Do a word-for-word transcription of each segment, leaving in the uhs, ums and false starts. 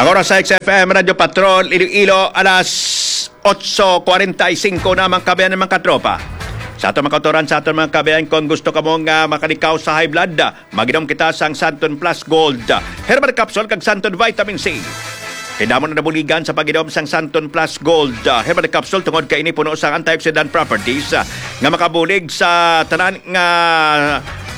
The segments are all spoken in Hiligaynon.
Ang oras sa X F M Radyo Patrol, Iloilo, alas otso kuwarenta y singko na, mga kabayan, mga katropa. Sa aton mga kautoran, sa aton mga kabayan, kung gusto kamo nga makalikaw sa high blood, maginom kita sang Santon Plus Gold Herbal Capsule kag Santon Vitamin C. Kay damo na nabuligan sa pag-inom sang Santon Plus Gold Herbal Capsule tungod kay ini puno sang antioxidant properties, ah, nga makabulig sa tanan nga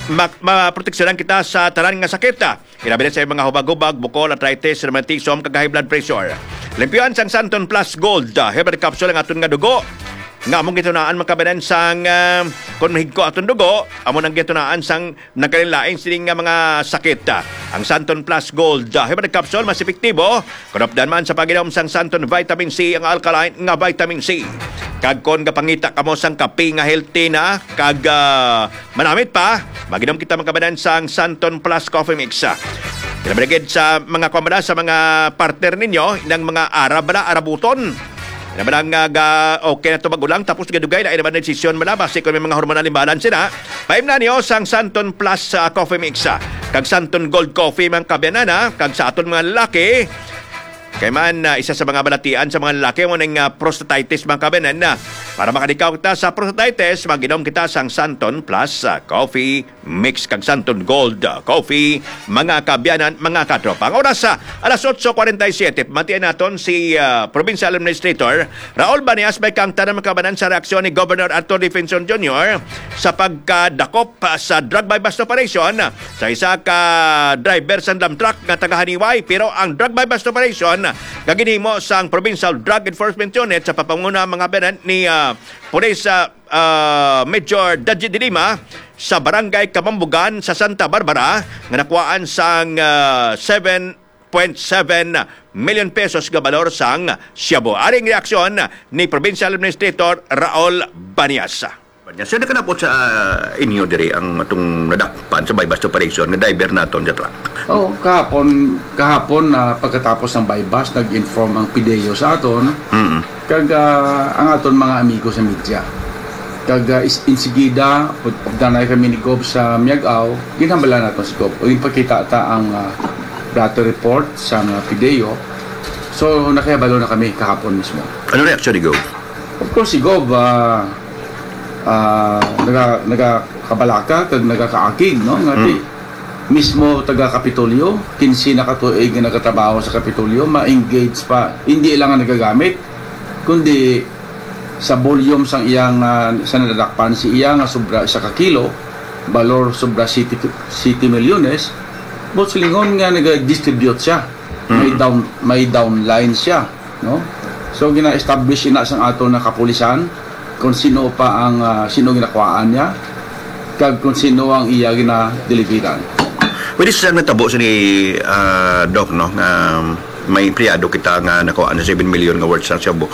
mak-, maproteksyonan kita sa tanan nga sakit, ah. Ilabi na sa mga hubag-hubag, bukol, arthritis, rheumatism, kag high blood pressure. Limpyuhan sang Santon Plus Gold, ah, Herbal Capsule ang aton nga dugo. Nga among gitunaan, mga kabayan, sang, ah, kung mahigko aton dugo, amo nang gitunaan sang nagkalain-lain sini nga mga sakit. Ang Santon Plus Gold, ah, Herbal Capsule, mas epektibo kung updan man sa pag-inom sang Santon Vitamin C, ang alkaline nga vitamin C. Kag kon gapangita kamo sang kape nga healthy na, kag, ah, manamit pa, mag-inom kita, mga kabayan, sang Santon Plus Coffee Mix. Ilabi na gid sa mga kuwan, sa mga partner ninyo, inang mga Arab bala, Arabuton. Ina bala nga ga-, okay na to mag-ulang, tapos gadugay na, ina ba na desisyon bala, basi kung may mga hormonal imbalance na, paimna niyo sang Santon Plus, ah, Coffee Mix, ah, kag Santon Gold Coffee, mga kabayan, ah, kag sa aton mga lalaki, kay man, ah, isa sa mga balatian sa mga lalaki, mo ning, ah, prostatitis, mga kabayan, ah. Para makalikaw kita sa prostatitis, mag-inom kita sang Santon Plus, ah, Coffee Mix kag Santon Gold, ah, Coffee, mga kaabyanan, mga katropa. Ang oras, ah, alas otso kuwarenta y siyete. Pamatian naton si, ah, Provincial Administrator Raul Banias, may kang tanan makabanan sa reaksyon ni Governor Arthur Defensor Junior sa pagkadakop, ah, sa drug buy-bust operation sa isa ka driver sang dump truck nga taga Haniway. Pero ang drug buy-bust operation nga ginhimo sang Provincial Drug Enforcement Unit sa pagpanguna, mga kaabyanan, ni, ah, Police, ah, ah, Major Daji de Lima sa Barangay Kamambugan sa Santa Barbara nga nakuhaan sang, ah, seven point seven million pesos nga balor sang shabu. Ari ang reaksyon ni Provincial Administrator Raul Banias. Banias, so, nakalabot sa, ah, inyo diri ang atong nadakpan sa buy-bust operation nga driver naton sa truck? Oh, kahapon, kahapon na pagkatapos ng buy-bust, nag-inform ang PDEO sa aton. Mm. Kag, ah, ang aton mga amigo sa media. Kag, ah, is-, insigida, pag-, danay kami ni Gob sa Miag-ao, ginhambala nato si Gob. O, ipakita ta ang, ah, blotter report sa mga PDEO. So, nakahibalo na kami kahapon mismo. Ano reaksyon ni Gob? Of course, si Gob, ah, ah, naga-, nagakabalaka kag nagakaakig, no? Nga ti-, Mm. mismo taga Kapitolyo, kinse na ka tuig nga nagatrabaho sa Kapitolyo, ma-engage pa, hindi lang ang nagagamit, kundi sa volume sang iyang, ah, sa nadakpan si iya nga sobra isa ka kilo, balor sobra siyete, siyete milyones, buot silingon nga nagadistribute siya. May Mm. down, may downline siya, no? So, gina-establish ina sang aton nga kapulisan kung sino pa ang, ah, sino ginakuhaan niya, kag kung sino ang iya ginadeliveran. Pwede sa natabo sa ni, ah, Doc, no, nga may empleyado kita nga nakuhaan sa seven million nga worth sa shabu.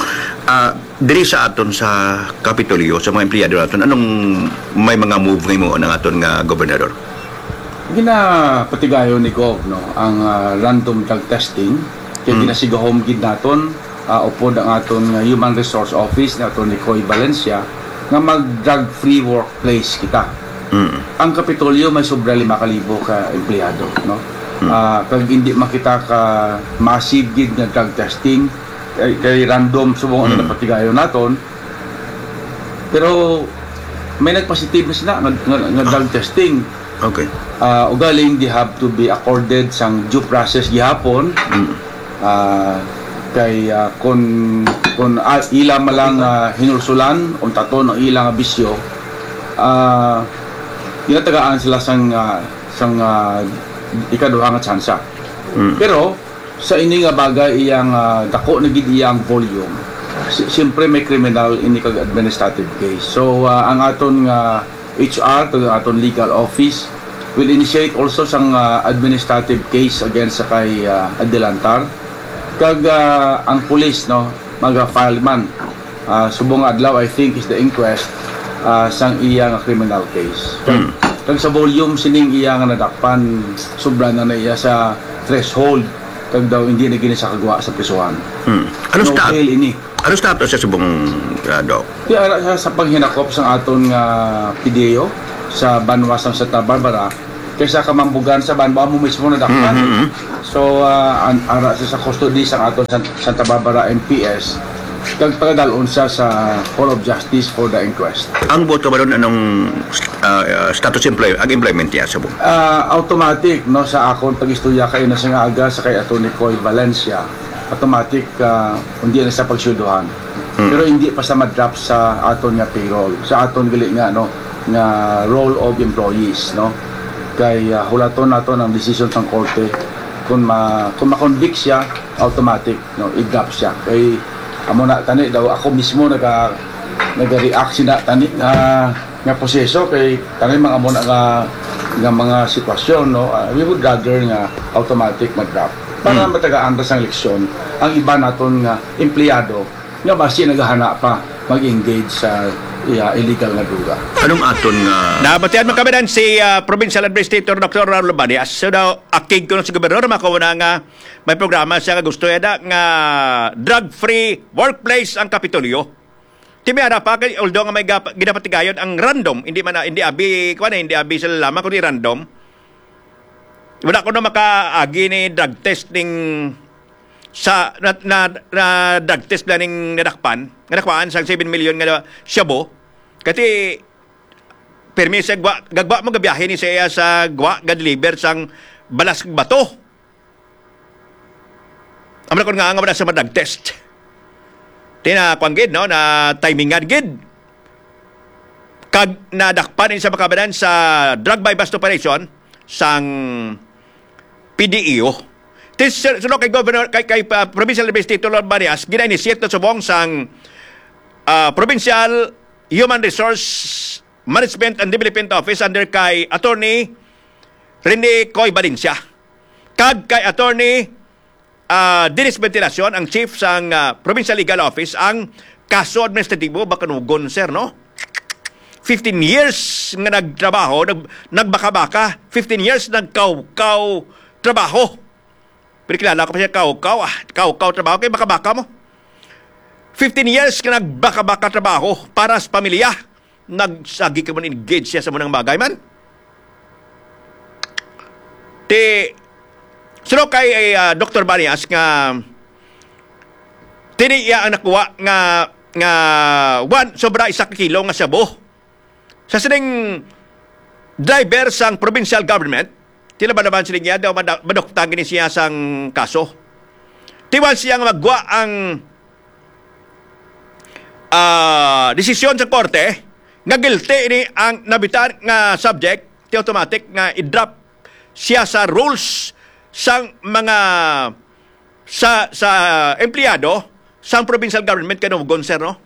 Ah, diri sa aton sa Kapitolyo, sa mga empleyado naton, anong may mga move nga himuon ang aton nga gobernador? Ginapatigayon ni Gov, no, ang, ah, random drug testing, kay Mm. ginasigahom gid naton, ah, upod ang aton nga Human Resource Office ni Attorney Coy Valencia nga mag drug-free workplace kita. Mm. Ang Kapitolyo may sobra lima ka libo ka empleyado, no? Mm. Ah, kag hindi man kita ka massive gid nga drug testing, kay, kay random subong ang Mm. napatigayon naton. Pero may nagpositive na sila nga, nga, nga drug testing. Okay. Ah, ugaling they have to be accorded sang due process gihapon. Mm. Ah, kay, ah, kun, kun, ah, ila man lang, ah, hinulsulan, untaton ang ila nga bisyo, ah, ginatagaan sila sang, ah, sang, ah, ikaduha nga tsansa. Mm. Pero, sa ini nga bagay, iyang, ah, dako na gid iyang volume. Si-, siyempre, may kriminal ini kag administrative case. So, ah, ang aton nga H R, kag ang aton legal office, will initiate also sang, ah, administrative case against sa kay, ah, Adelantar. Kag, ah, ang pulis, no, maga-file man. Ah, subong nga adlaw, I think, is the inquest, ah, sang iya nga criminal case. Kag, Hmm. kag sa volume sining iya nga nadakpan, sobra na na iya sa threshold. Kag daw hindi na gini sa kagwa sa prisuhan. Hmm. Ano No stat-, bail ini. Ano status sa subong, ah, Doc? Di ara sa, sa paghinakop sang aton nga PDEO sa banwa sang Santa Barbara, Kaysa ka mambugan sa ban, ba mo mismo nadakpan. Mhm, mhm. So, ah, an-, ara siya sa custody sa aton San-, Santa Barbara M P S. Kag pagadalon siya sa Hall of Justice for the inquest. Ang buot ka ba ron, anong, ah, ah, status employ-, ang employment niya sa bu-? Ah, automatic, no, sa akon pag-istorya kay na siya nga aga sa kay Attorney Coy Valencia, automatic, ah, hindi na sa pagsueldohan. Hmm. Pero hindi pa sa ma-drop sa aton nga payroll, sa aton gali nga, no, nga roll of employees, no. Kay, ah, hulaton nato ang desisyon sang korte. Kung ma-, kung ma-convict siya, automatic, no, i-drop siya. Kay amo na tani daw, ako mismo naga-, naga-react sina tani nga, nga proseso kay tani mga amo na nga, nga mga sitwasyon, no. Ah, we would rather nga automatic ma-drop para Hmm. matagaan ta sang leksyon ang iba naton nga empleyado nga basi nagahana pa mag-engage sa, iya, illegal nga droga. Anong aton nga Nabatian mo kami si, ah, Provincial Administrator Doctor Raul Banias. So daw, akig ko sa gobernador, makauna nga may programa siya nga gusto yada nga drug-free workplace ang Kapitolyo. Ti may ara pa, kay, although nga may gap-, ginapatigayon ang random, hindi man na, hindi abi, kuwan eh, hindi abi sila lamang, kundi random. Wala ko na makaagi ni drug test ning sa, na, na, na drug test na ning nadakpan, nadakpan sang seven million nga shabu. Kati, permi sa gwa, gagwa mo gabiyahe ni siya sa gwa, ga-deliver sang balas kag bato. Amo na kun nga, nga wala sa ma-drug test. Tina, kwan gid, no, na timingan gid. Kag nadakpan ini sa makabanan sa drug buy-bust operation sang P D E O. Tis-, suno kay Governor, kay, kay, uh, Provincial Administrator Lord Barias, gina-initiate na subong sang, uh, Provincial Human Resource Management and Development Office under kay Attorney Rene Coy Valencia. Kag kay Attorney, ah, Dennis Ventilacion, ang chief sang, ah, Provincial Legal Office, ang kaso administratibo, bakanugon, sir, no? Fifteen years nga nagtrabaho, nag-, nagbaka-baka. Fifteen years nagkawkaw trabaho. Pero kilala ko pa siya, kawkaw, ah, kawkaw trabaho, kay baka-baka mo. Fifteen years nga nagbaka-baka trabaho para sa pamilya. Nagsagi ka man, engage siya sa munang bagay man. Ti, suno kay, ah, Doktor Banias nga tini iya ang nakuha nga, nga one, sobra isa ka kilo nga shabu. Sa sining driver sang provincial government, tila ba naman sila niya daw mada-, maduktan gini siya sang kaso. Tiwan siya nga magwa ang, ah, desisyon sa korte nga guilty ini ang nabitan nga subject, ti automatic nga i-drop siya sa rules sang mga sa, sa empleyado sang provincial government kanugon, sir, no?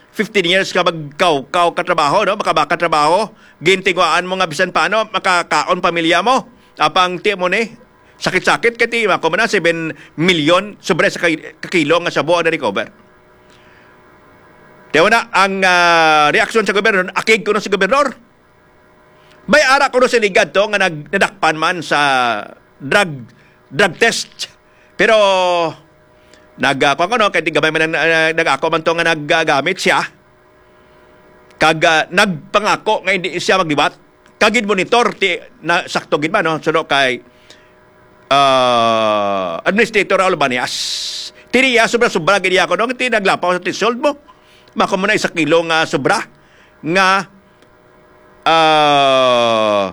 Fifteen years ka magkawkaw ka trabaho, no? Makabaka trabaho, gintinguhaan mo nga bisan paano makakaon pamilya mo. Apang ti mo ni sakit-sakit kay ti ako man na seven million, sobra sa kay-, kakilo nga shabu ang na-recover. Tiyo na ang, ah, reaksyon sa gobyerno, akig ko na sa gobernador. May ara kuno sa ligad to nga nag-, nadakpan man sa drug, drug test. Pero nag-, ah, kuwan ko, no, kay di gamay man ang, ah, nag-ako man to nga naggamit siya. Kag, ah, nagpangako nga hindi siya magliwat. Kag gid monitor ti na sakto gid man, no? Suno kay, ah, Administrator Raul Banias. Tini iya sobra-sobra gid iya ko, no? Ti naglapaw sa threshold mo. Mako mo na isa kilo nga sobra nga ah,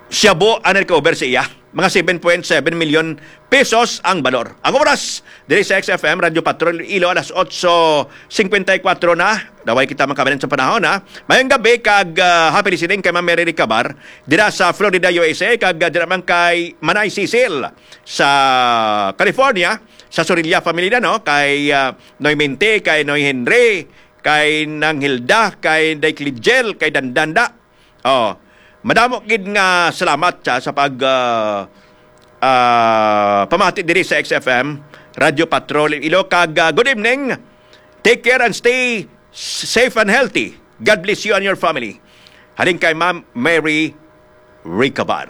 shabu ang na-recover sa iya. Mga seven point seven million pesos ang balor. Ang oras, diri sa X F M, Radyo Patrol, Ilo, alas otso cincuenta y cuatro na. Daway kita makabalin sa panahon, ha? Mayong gabi kag, ah, happy listening kay Ma'am Mary Ricabar, dira sa Florida, U S A, kag, ah, dira man kay Manay Cecil sa California, sa Sorilla family na, no? Kay, ah, Noy Mente, kay Noy Henry, kay Nang Hilda, kay Day Clidiel, kay Dandanda. Oh, madamo gid nga salamat sa, sa pag, ah, ah, pamati diri sa X F M, Radyo Patrol Ilo, kag, ah, good evening. Take care and stay s-, safe and healthy. God bless you and your family. Halin kay Ma'am Mary Ricabar.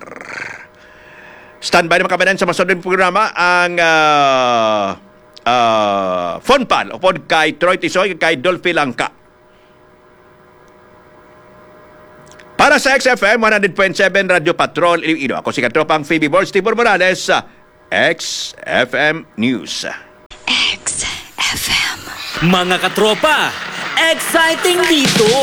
Standby na makabanan sa masunod nga programa ang, ah, ah, Fun Pal, upod kay Troy Tisoy, kay Dolphy Langka. Ta sa X F M one hundred point seven Radyo Patrol Iloilo. Ako si Katropang Phoebe Borge Tibor Morales, sa X F M News. X F M. Mga katropa, exciting dito!